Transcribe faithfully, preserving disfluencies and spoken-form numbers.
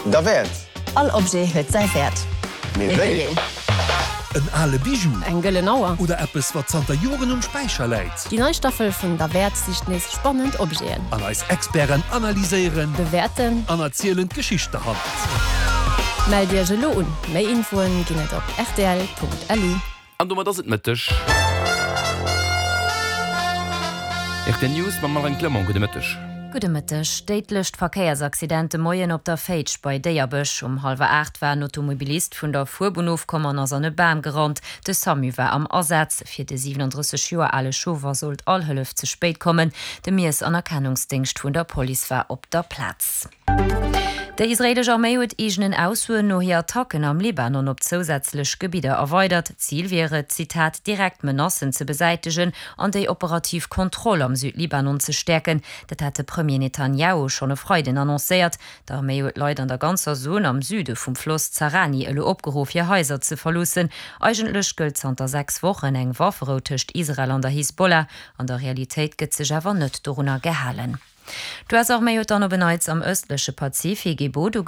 Derwäert. All Objet huet säi Wäert. Mee wéi een? En ale Bijou. Eng gëllen Auer. Oder eppes, wat zanter Joren um Späicher läit. Déi nei Staffel vun Derwäert sicht nees spannend Objeten. An eis Experten analyséieren. Bewäerten. An erzielen d'Geschicht derhannert. Mellt Iech elo un, méi Infoen ginn et op rtl.lu. An domat ass et Mëtteg. Rtl News mam Marine Clement. Gudde Mëtteg. Gudde Mëtteg. Déidlecht Verkéiersaccident de Moien op der Féitsch bei Déierbech. Um hallwer aacht war en Automobilist vun der Fuerbunn ofkomm an ass an e Bam gerannt. De Samu war am Asaz. Fir de siwenandrësseg Joer ale Chauffer sollt all Hëllef ze spéit kommen. De Miess an Erkennungsdéngscht vun der Police war op der Plaz. Déi israeelesch Arméi huet eegenen Aussoen no hir Attacken am Libanon op zousätzlech Gebidder erweidert. Zil wier et, Zitat, direkt Menacen ze besäitegen an déi operativ Kontroll am Südlibanon ze stäerken. Dat hat de Premier Netanjahu schonn e Freiden annoncéiert. D'Arméi huet d'Leit an der ganzer Zon am Süde vum Floss Zarani elo opgeruff, hir Haiser ze verloossen. Eigentlech gëllt zanter sechs Wochen eng Wafferou tëscht Israel an der Hisbollah. An der Realitéit gëtt sech awer net dorunner gehalen. D'U S-Arméi huet dann op en Neits am ëstleche Pazifik ee Boot ugegraff.